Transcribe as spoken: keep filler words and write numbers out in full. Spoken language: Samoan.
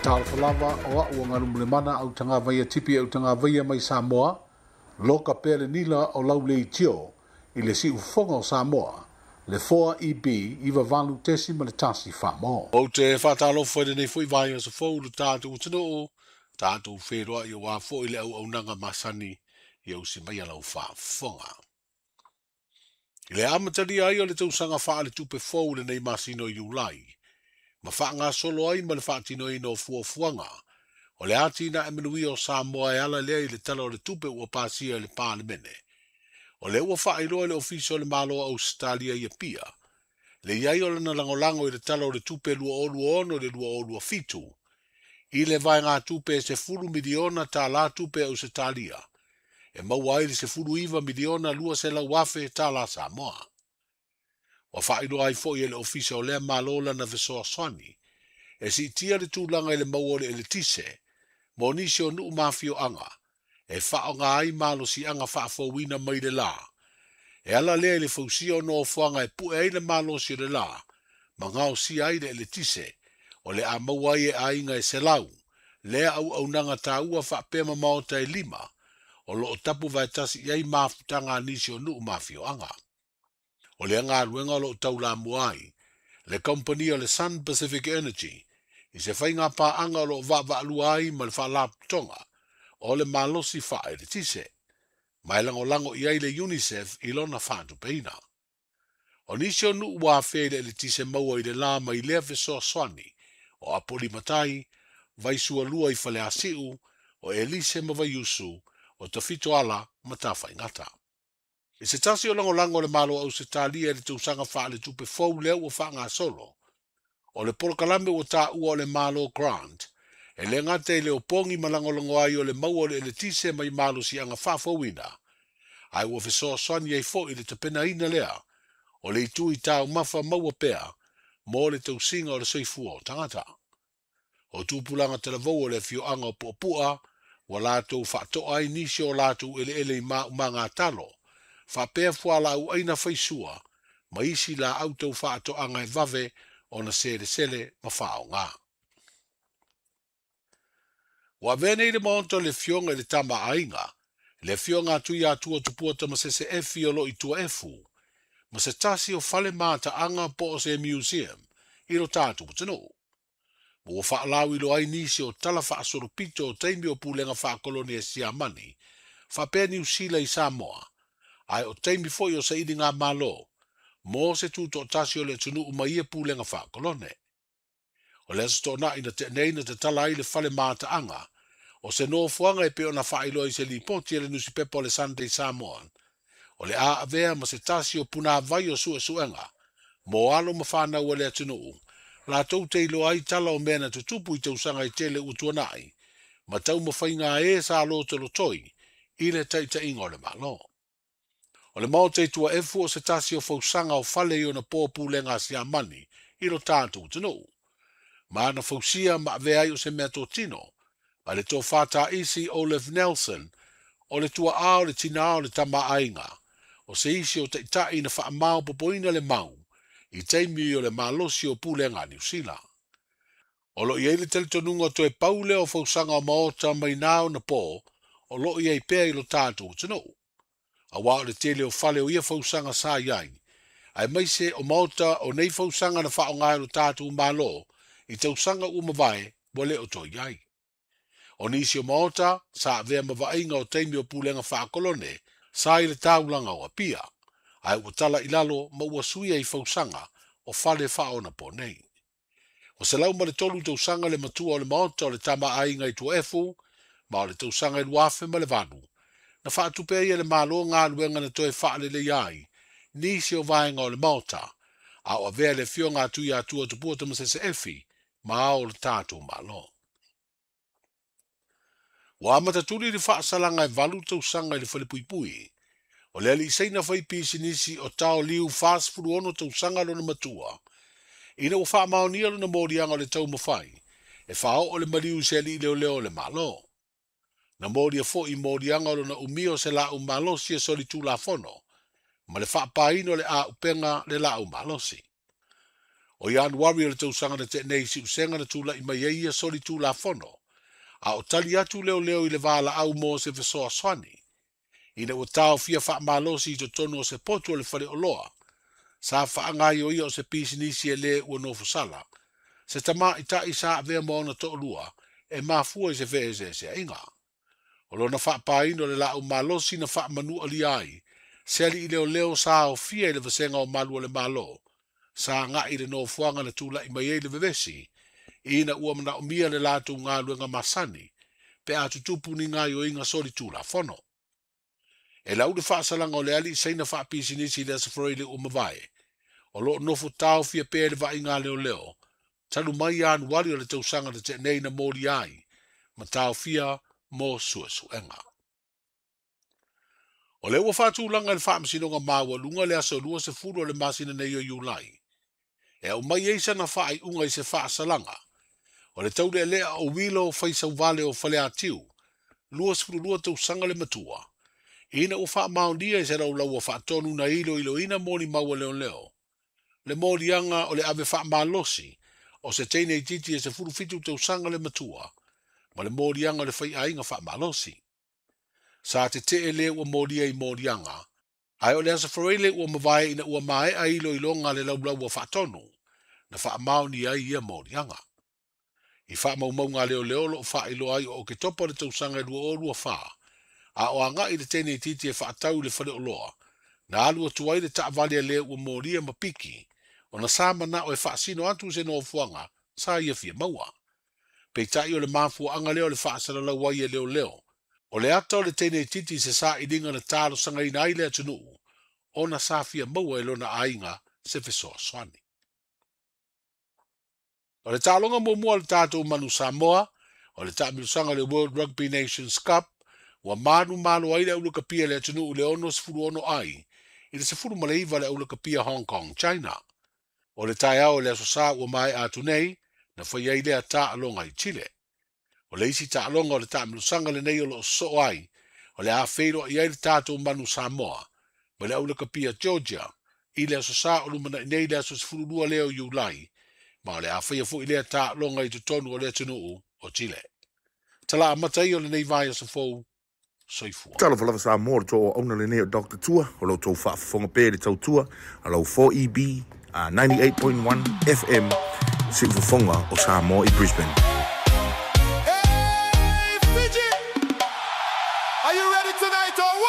Talofa lava o a'u galumalemana au tagavaia tipi au tagavaia mai Samoa, loka pea le nila o lau leitio i le siufofoga o Samoa, le four E B iva valu tesi ma le tasi famo. O te whātalofa i lenei foi vai o sa fou le tātou atunuu, tātou whenua i o wā foi le au aunaga masani i au si mai alau whaafofoga. I le amatalia ai o le tausaga faaletupe fou lenei masina o Iulai, ma whaangasolo ai ma le whaatinoina o fuafuaga, o le ātina e manuia o Samoa e ala lea i le tala o le tupe ua pasia i le Palemene. O le ua whaailoa le ofisa o le Malo o Ausetalia i Apia, le iai o lana lagolago i le tala o le tupe lua o lua ono le lua o lua fitu, i le vaega tupe e sefulu miliona tālā tupe Ausetalia, e maua ai le sefulu iva miliona lua selau afe tālā Samoa. Ua whaailoa ai foi e le ofisa o lea malo lana fesoasoani, e siitia le tulaga i le maua o le eletise, mo nisi o nuu mafioaga, e whaonga ai malosiaga faafouina mai le la. E ala lea i le fausia o nofoaga e pue ai le malosi o le la, ma gaosia ai le eletise, o le a maua ai e aiga e selau, lea auaunaga taua faapea ma maota e lima, o loo tapu vaetasi i ai mafutaga a nisi o nuu mafioaga. O lea galuega o loo taulamua ai, le kompani o le Sun Pacific Energy, i se faiga paaga o loo vaavaalua ai ma le faalapotopotoga, o le malosi faaeletise, ma e lagolago i ai le UNICEF i lona faatupeina. O nisi o nuu ua afea i le eletise maua i le la mai lea fesoasoani, o Apolimatai, Vaisualua i Faleasiu, o Elise ma Vaiusu, o Tafitoala ma Tafaigata. I se tasi o lagolago o le Malo o Ausetalia i le tausaga faaletupe fou lea ua faagasolo, o le polokalame ua taua o le Malo Grant, e le gata i le opogi ma lagolago ai o le maua o le eletise mai malosiaga faafouina, ae ua fesoasoani ai foi i le tapenaina lea, o le itu i taumafa maua pea mo le tausiga o le soifua o tagata. O tupulaga talavou o le afioaga o Puapua, ua latou faatoa ai nisi o latou eleele i maumaga talo, faapea fualaau aina faisua, ma isi laau tau faatoaga e vave ona selesele ma faaaoga. Ua avea nei le maota o le afioga i le tama aiga, le afioga a Tuiatua Tupua Tamasese Efi o loo i Tuaefu, ma se tasi o fale mataaga po o se museum i lo tatou atunuu. Ma ua faalauiloa ai nisi o tala faasolopito o taimi o pulega faakolone e Siamani, faapea Niu Sila i Samoa, ae o taimi foi o sailiga malo, mo se tutoatasi o le atunuu ma ia pulega faakolone. O le aso toonai na tenei na tatala ai le fale mataaga, o se nofoaga e pei ona faailoa i se lipoti e le nusipepa o le Sunday Samoan, o le a avea ma se tasi o punavai o suesuega, mo alo ma whanau o le atunuu, latou te iloa ai tala o mea na tutupu i tausaga e tele ua tuanai, ma taumafaiga e sa lotolotoi i le taitaiga o le Malo. O le maota i Tuaefu o se tasi o fausaga o fale i ona po pulega a Siamani i lo tatou atunuu. Ma ana fausia ma avea ai o se mea totino, ma le tofā taisi Olaf Nelson, o le tuaa o le tinā o le tama aiga, o se isi o taitai na faamaopopoina le mau, i taimi o le malosi o pulega a Niu Sila. O loo i ai le talitonuga toe pau lea o fausaga o maota mai na ona po, o loo i ai pea i lo tatou atunuu. Auā o le tele o fale o ia fausaga sa i ai, aemaise o maota o nei fausaga na faaaoga e lo tatou Malo i tausaga ua mavae ua le o toe i ai. O nisi o maota sa avea ma vaaiga o taimi o pulega faakolone sa i le taulaga o Apia, ae ua tala i lalo ma ua suia i fausaga o fale faaonapo nei. O selau ma le tolu tausaga le matua o le maota o le tama aiga i Tuaefu, ma o le tausaga i lua afe ma le valu, na faatupe ai e le Malo galuega na toe faaleleia ai nisi o vaega o le maota, a o avea le afioga a Tuiatua Tupua Tamasese Efi ma ao o le tatou Malo. Ua amatatuli le faasalaga e valu tausaga i le falepuipui, o le alii saina fai pisinisi o Tao Liu fasefulu ono tausaga lona matua, ina ua faamaonia lona moliaga o le taumafai, e faaoo le maliu i se alii leoleo o le Malo. Na molia foi moliaga o lona umia o se laau malosi e solitulafono, ma le faapaina o le auupega le laau malosi. O Ianuari o le tausaga na tea nei si'usega na tula'i mai ai ia solitulafono, a o tali atu leoleo i le valaau mo se fesoasoani, ina ua taofia faamalosi i totonu o se potu o le faleoloa, sa faagaioia o se pisinisi e lē ua nofosala, se tamaʻitaʻi sa avea ma ona toʻalua e mafua i se feeseeseaʻiga. O lona faapaina o le laau malosi na faamanualia ai se aliʻi leoleo sa aofia i le vasega o malu o le Malo, sa agaʻi i le nofoaga na tulaʻi mai ai le vevesi, ina ua manaʻomia le latou galuega masani, pe a tutupu ni gaioiga solitulafono. E lau le faasalaga o le aliʻi saina faapisinisi i le Aso Faraile ua mavae, o loo nofo taofia pea i le vaaiga a leoleo, talu mai Ianuari o le tausaga na tea nei na molia ai, ma taofia mo suesuega. O lea ua faatulaga i le Faamasinoga Maualuga le aso luasefulu o le masina nei o Iulai, e aumai ai sana faaiuga i se faasalaga o le taulealea o Wilo Faisauvale o Faleatiu, luasefululua tausaga le matua, ina ua faamaonia i se laulaua faatonu na iloiloina molimau a leoleo, le moliaga o le ave faamalosi o se teine itiiti e sefulufitu tausaga le matua, ma le moliaga o le faiaiga faamalosi. Sa tetee lē ua molia i moliaga, ae o le Aso Faraile ua mavae ina ua maea iloiloga le laulaua faatonu, na faamaonia ai ia moliaga. I faamaumauga a leoleo o loo faailoa ai o Oketopa le tausaga e lua o lua fa, a o agaʻi le teine itiiti e faatau i le faleoloa, na alu atu ai le taavale a le ua molia ma piki, ona sa manao e faasino atu se nofoaga sa ia fia maua. Peitai o le mafuaaga lea o le faasalalau ai e leoleo, o le ata o le teine itiiti i se sailiga na talosagaina ai le atunuu, ona sa fia maua e lona aiga se fesoasoani. O le taaloga muamua o le tatou manu Samoa, o le taamilosaga o le World Rugby Nations Cup, ua manumalo ai le aulakapia le atunuu i le onosefulu ono ai, i le sefulu ma le iva le aulakapia Hong Kong, China. O le taeao o le aso Sā ua maea atu nei, na fai ai lea taaloga i Chile. O le isi taaloga o le taamilosaga lenei o loo sosoo ai, o le a feiloai ai le tatou manu Samoa, ma le aulakapia Georgia, i le aso Sā o lumanaʻi nei le aso sefululua lea o Iulai, ma o le a faia foʻi lea taaloga i totonu o le atunuu o Chile. Tala amata ia o lenei vaiaso fou, soifua. Talofa lava Samoa, o le tou auauna lenei o Doctor Tua, o lo outou faafofoga pea i le tautua a lau four E B uh, ninety-eight point one F M, siufofoga o Samoa i Brisbane.